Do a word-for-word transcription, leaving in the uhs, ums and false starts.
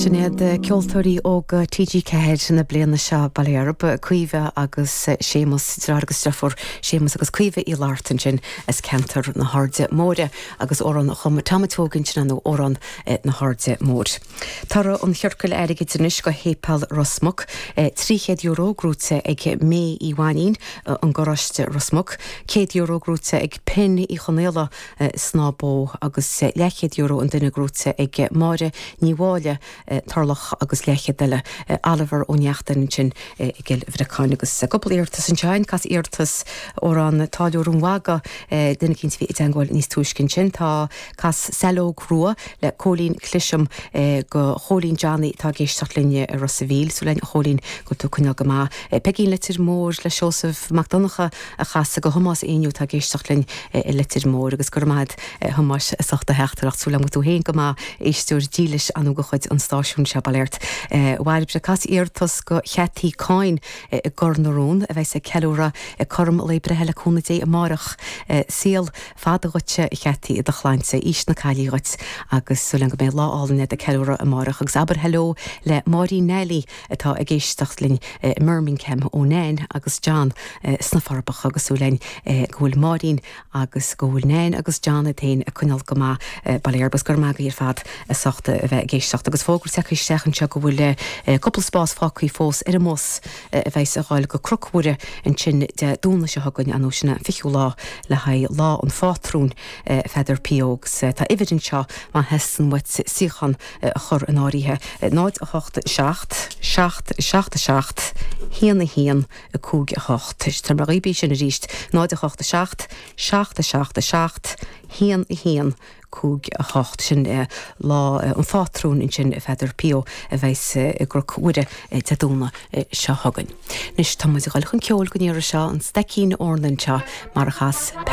Sin iad ceoltóirí óga TG Ceathair na bliana seo Baile Heirb, Caoimhe agus Séamus deartháir agus deirfiúr Séamus agus Caoimhe Uí Fhlatharta ansin as ceantar na hAirde Móire agus amhrán a chum Tom Tógin sin nó amhrán na hAirde Móire. Toradh an chiorcail airgid anois go Shéipéal Ros Muc, trí chéad euro gnóthaithe ag May Uí Mhainín an Garáiste Ros Muc, céad euro gnóthaithe ag Pin Uí Chonaola Snáth Bó agus leathchéad euro an duine gnóthaithe ag Máire Ní Mháille Turlach agus leathchéad eile Oliver Ó Neachtain ansin i gCill Bhreacáin agus cúpla iarratas ansin cas iarratas amhrán Táilliúir an Mhagaidh duine éicint a bhí i dteagmháil níos túisce ansin tá cas Saileog Rua le Cóilín Cliseam go Chóilín Johnny tá ag éisteacht linn i Ros a' Mhíl súil againn a Chóilín go bhfuil tú ag coinneáil go maith. Peigín Leitir Móir le Seosamh Mac Donncha a chas go Thomás Éinniú tá ag éisteacht linn i Leitir Móir agus go raibh maith agat Thomáis as ucht do theachtaireacht súil agam go bhfuil tú féin go maith éisteoir dílis anú de chuid an stáisiún seo bail ort. Bhairbre cas iarratas go Cheataí Cáin i gCor na Rón a bheidh ag ceiliúradh cothrom lae breithe le cúnamh Dé amárach saol fada dhuitse a Cheataí i do shláinte aois na caillí dhuit agus súil agam go mbeidh lá álainn ag ceiliúradh amárach agus abair hello le Máirín Neilí atá ag éisteacht linn i mBirmingham ó Nan agus John sna Forbacha agus súil againn go bhfuil Máirín agus go bhfuil Nan agus John iad féin ag coinneáil go maith bail agus gur maith ar fad as ucht a bheith ag éisteacht agus fógra tagtha isteach anseo go bhfuil cúpla spás fágtha fós ar an mbus a bheidh ag dul go Cnoc Mhuire ansin Dé Domhnaigh seo chugainn an sin an fichiú lá le haghaidh lá an phátrúin Pheadair P. Agus tá uimhir anseo má theastaíonn uait suíochán a chur in áirithe náid a hocht seacht seacht seacht seacht haon a haon a cúig a hocht. Tá mar bí sin arís náid a hocht seacht seacht seacht seacht haon a haon cúig a hocht sin lá an phátrúin ansin Pheadair P. a bheidh i gCnoc Mhuire Dé Domhnaigh seo chugainn. Anois tá muid ag dul chun ceoil don iarraidh seo an Staicín Eornan seo mar a chas